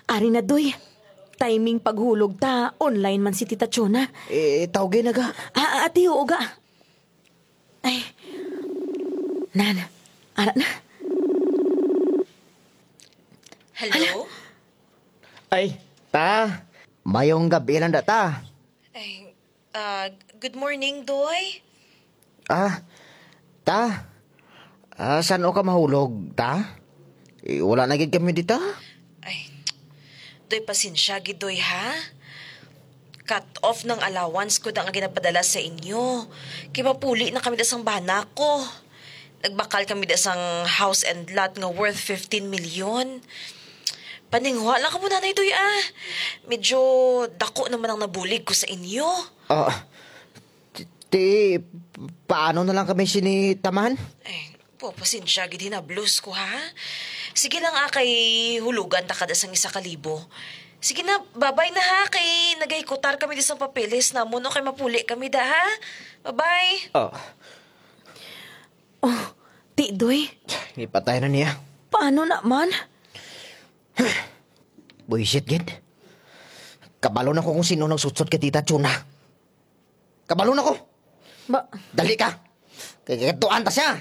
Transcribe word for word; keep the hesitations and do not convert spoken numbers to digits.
Ari na, Doy. Timing paghulog ta, online man si Tita Chona. Eh, tawgi na ga. Ah, ah, ati, oo ga. Ay. Nan, ara na. Hello? Ay, ta. Mayong gabi lang da ta. Ay, ah, good morning, Doy. Ah, ta. Ah, san-o ka mahulog, ta? Eh, wala na gid kami dita. Ay, Doy, pasensya gid, Doy, ha? Cut off ng allowance ko da nga ginapadala sa inyo. Kay mapuli na kami da sang bana ko. Nagbakal kami da sang house and lot nga worth fifteen million. Paninguha lang kamo, Nanay Doy, ah. Medyo dako naman ang nabulig ko sa inyo. Ah, ti, ti, paano na lang kami sini, ta man? Ay, po, pasensya gid hinablos ko, ha? Sige lang, ah, kay hulugan ta kada sang isa ka libo. Sige na, babay na, ha, kay nagahikutar kami di sang papeles namon, no, kay mapuli kami da, ha? Babay. Ah, Oh, Ti Doy, ipatay na niya. Paano naman? Buisit gid. Kabalo na ko kung sino nagsutsot kay Tita Chuna. Kabalo na ko. Ba, Dali ka. Kay katuan ta siya.